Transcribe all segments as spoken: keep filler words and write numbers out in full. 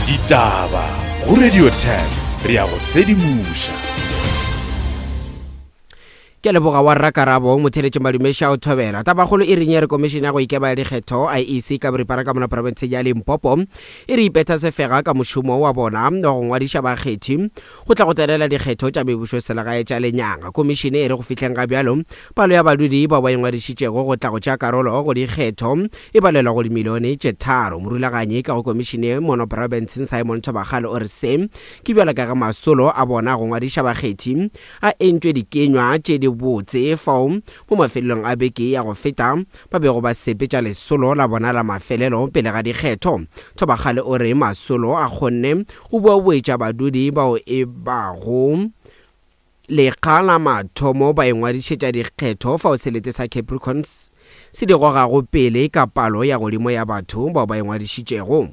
Ditaba go Radio ten re ya go sedimoša. Ke leboga wa rrakarabo motheletše madumeša o thobela. Tabakgolo e reng ya re komišene ya go ikema ya dikgetho I E C ka boripana ka mona profenseng ya Limpopo e re ipetha sefega ka mošomo wa bona wa go ngwadiša bakgethi go tla go tsenela dikgetho tša mebušo selegae tša lenyaga. Komišene e re go fihleng ga bjalo palo ya badudi bao ba ingwadišitšego go tla go tšea karolo go dikgetho e balelwa go dimilione tše tharo. Morulaganyi ka go komišene mono profenseng Simon Thobakgale o re se ke bjalo ka ge masolo a bona go ngwadiša bakgethi a entšwe dikenywa tše di botse fao mo mafelelong a beke ya go feta ba bego ba sepetša lesolo la bona la mafelelo pele ga dikgetho. Thobakgale o re masolo a kgonne go boaboetša badudi bao e bago lekga la mathomo ba ingwadišetša dikgetho fao selete sa Capricorns se di gogago pele ka palo ya godimo ya batho bao ba ingwadišitšego.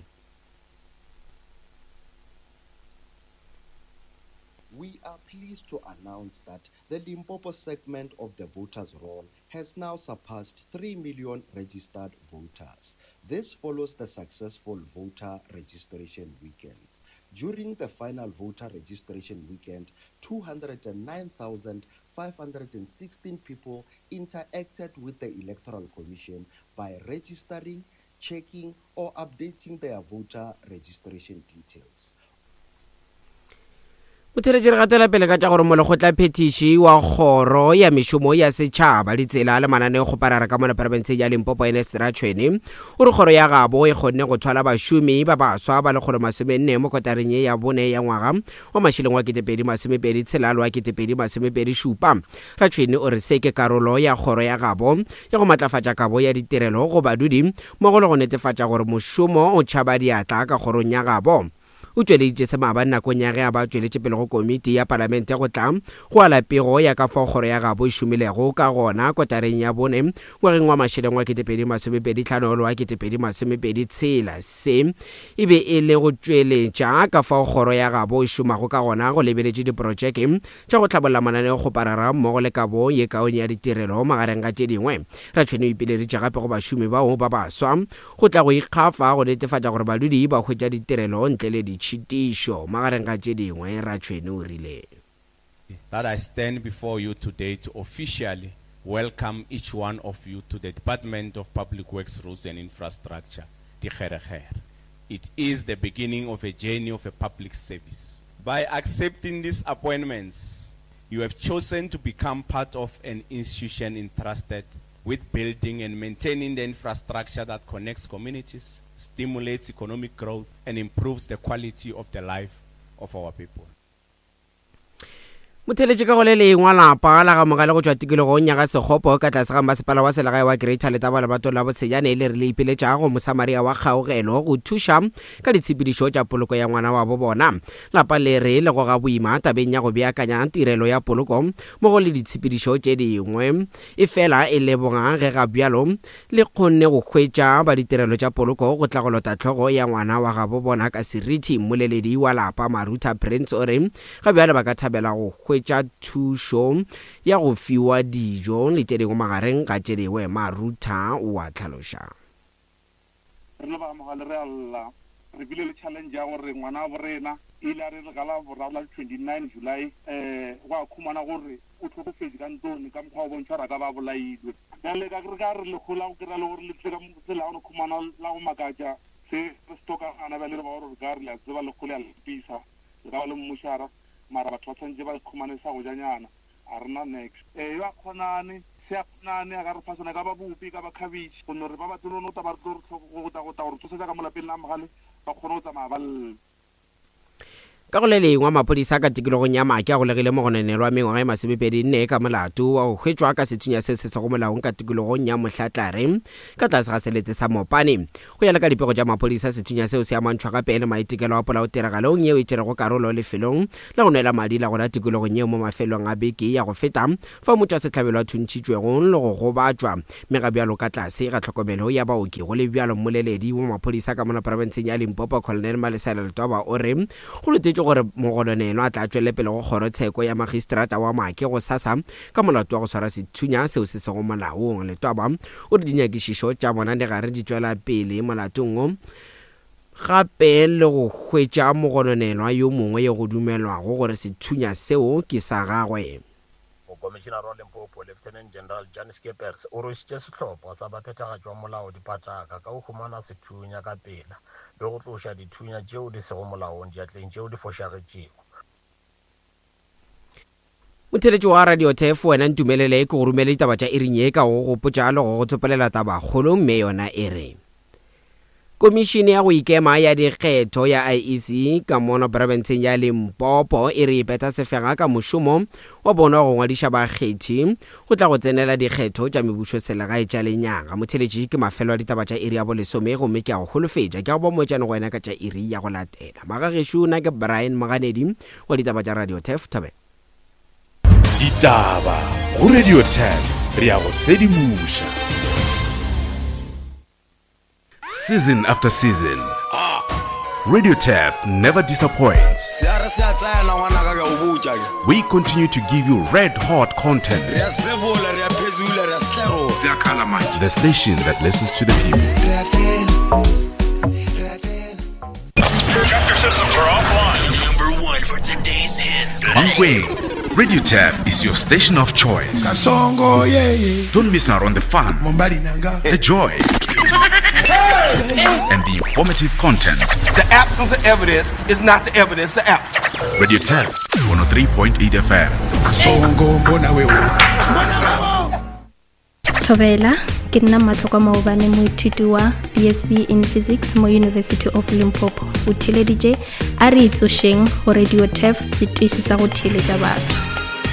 We are pleased to announce that the Limpopo segment of the voters' roll has now surpassed three million registered voters. This follows the successful voter registration weekends. During the final voter registration weekend, two hundred nine thousand five hundred sixteen people interacted with the Electoral Commission by registering, checking, or updating their voter registration details. Motheletši re gatela pele ka tša gore molekgotla phetiši wa kgoro ya mešomo ya setšhaba ditsela le mananeo kgoparara ka mona profenseng ya Limpopo Ernest Ratshwene o re kgoro ya gabo e kgonne go thwala bašomi ba baswa ba lekgolo masomenne mo kotareng ye ya bone ya ngwaga wa mašeleng wa ketepedi masomepedi tshela le wa ketepedi masomepedi šupa. Ratshwene o re se ke karolo ya kgoro ya gabo ya go matlafatša kabo ya ditirelo go badudi mmogo le go netefatša gore mošomo o tšhaba diatla ka kgorong ya gabo. O tšweleditše se maabane nakong ya ge a ba tšweletše pele go komiti ya palamente go tla go ala pego ya ka fao kgoro ya gabo e šomilego ka gona kotareng ya bone ngwageng wa mašeleng wa ketepedi masomepedi hlano le wa ketepedi masomepedi tshela. Se e be e le go tšweletša ka fao kgoro ya gabo e šomago ka gona go lebeletše diprotšeke tša go hlabolla mananeo kgoparara mmogo le kabo ye kaone ya ditirelo magareng ga tše dingwe. Ratshwene o ipileditše gape go bašomi bao ba baswa go tla go ikgafa go netefatša gore badudi ba hwetša ditirelo ntle le ditšhitišo magareng ga tše dingwe. Ratshwene o rile that I stand before you today to officially welcome each one of you to the Department of Public Works, Roads and Infrastructure, Dikgerekgere. It is the beginning of a journey of a public service. By accepting these appointments, you have chosen to become part of an institution entrusted with building and maintaining the infrastructure that connects communities, stimulates economic growth, and improves the quality of the life of our people. Motheletši ka go le lengwe lapa la ga Mogale go tšwa tikologong ya ga Sekgopo ka tlase ga masepala wa selegae wa Greater Letaba lebatong la Botsejane le re le ipiletša go Mosamaria wa Kgaogelo go thuša ka ditshepedišo tša poloko ya ngwana wa bo bona. Lapa le re le goga boima tabeng ya go beakanya tirelo ya poloko mmogo le ditshepedišo tše dingwe, efela e leboga ge ga bjalo le kgonne go hwetša ba ditirelo tša poloko go tla go lota hlogo ya ngwana wa gabo bona ka seriti. Mmoleledi wa lapa Marutha Prince o re ga bjalo ba ka thabela go hwetša thušo ya go fiwa dijo le tše dingwe magareng ga tše dingwe. Marutha o a tlhaloša. Re le ba Mogale re a lla, re bile le challenge ya gore ngwana wa borena ile a re re gala boraro la twenty-nine July eh go a khumana gore o tlhokofetse ka ntlong ka mokgwa o bontšha gore a ka ba bolailwe. Bjale ka re ka re lekgola go kry-a le gore le tle ka tsela ya go khumana la go makatša se re se tlhokagana. Bjale re ba gore re ka re le a tseba lekgole ya lepisa le ka ba le mmošara mara batho ba tshwanetse ba khumane sa go janyana a rena next. Eh yo a kgonane se a kgonane a ka re fa sona ka ba bopi ka ba cabbage go no re ba ba tlo no ta ba re tlo go ta go ta gore tsosetsa ka molapeng la Mogale ba kgone go tsamaya ba lle. Ka go le lengwe maphodisa ka tikologong ya Maake a golegile mogononelwa mengwaga e masomepedi nne ka molato wa go hwetšwa ka sethunya se se sego molaong ka tikologong ya Mohlatlare ka tlase ga selete sa Mopane. Go ya le ka dipego tša maphodisa, sethunya seo se amantšhwa gape le maitekelo a polao tiragalong yeo e tšerego karolo lefelong la go nwela madi la gona tikologong yeo mo mafelong a beke ya go feta fa motšwasehlabelo a thuntšhitšwego le go gobatšwa mme ga bjalo ka tlase ga tlhokomelo ya baoki. Go le bjalo, mmoleledi wa maphodisa ka mona profenseng ya Limpopo Colonel Malesela Letwaba o re go letetšwe gore mogononelwa a tla tšwele pele go kgorotsheko ya magistrata wa Maake go sasa ka molato wa go swara sethunya seo se sego molaong. Letwaba o re dinyakišišo tša bona di gare di tšwela pele molatong wo Gape le go hwetša mogononelwa yo mongwe yo go dumelwago gore sethunya seo ke sa gagwe. Mokomišenare wa Limpopo, Lieutenant General Jan Skeepers, o rwešitše sehlopha sa baphethagatši ba molao dipataka ka go humana sethunya ka pela le go tloša dithunya tšeo di sego molaong diatleng tšeo di fošagetšego. Motheletši wa Radio Turf, wena ntumelele ke go romele ditaba tša iring ye ka go gopotša le go go tsopolela tabakgolo, mme yona e re: Komišene ya go ikema ya dikgetho ya I E C ka mono profenseng ya Limpopo e re e phetha sefega ka mošomo wa bona wa go ngwadiša bakgethi go tla go tsenela dikgetho tša mebušo selegae tša lenyaga. Motheletši, ke mafelo a ditaba tša iri ya bolesome, gomme ke a go holofetša ke a go ba moetšane go wena ka tša iri ya go latela. Magagešo, nna ke Brian Moganedi wa ditaba tša Radio Turf. Thobela. Ditaba go Radio Turf, re a go sedimoša. Season after season, Radio Turf never disappoints. We continue to give you red hot content. The station that listens to the people. Chapter systems are offline. Number one for today's hits. Mankweng, Radio Turf is your station of choice. Don't miss out on the fun, the joy, and the informative content. The absence of evidence is not the evidence of absence. Radio Turf, one oh three point eight F M. Thobela, ke nna Matlhokwa Maobane, moithuti wa B S C in Physics mo University of Limpopo. O theeleditše a re itsošeng go Radio Turf, setiši sa go theeletša batho.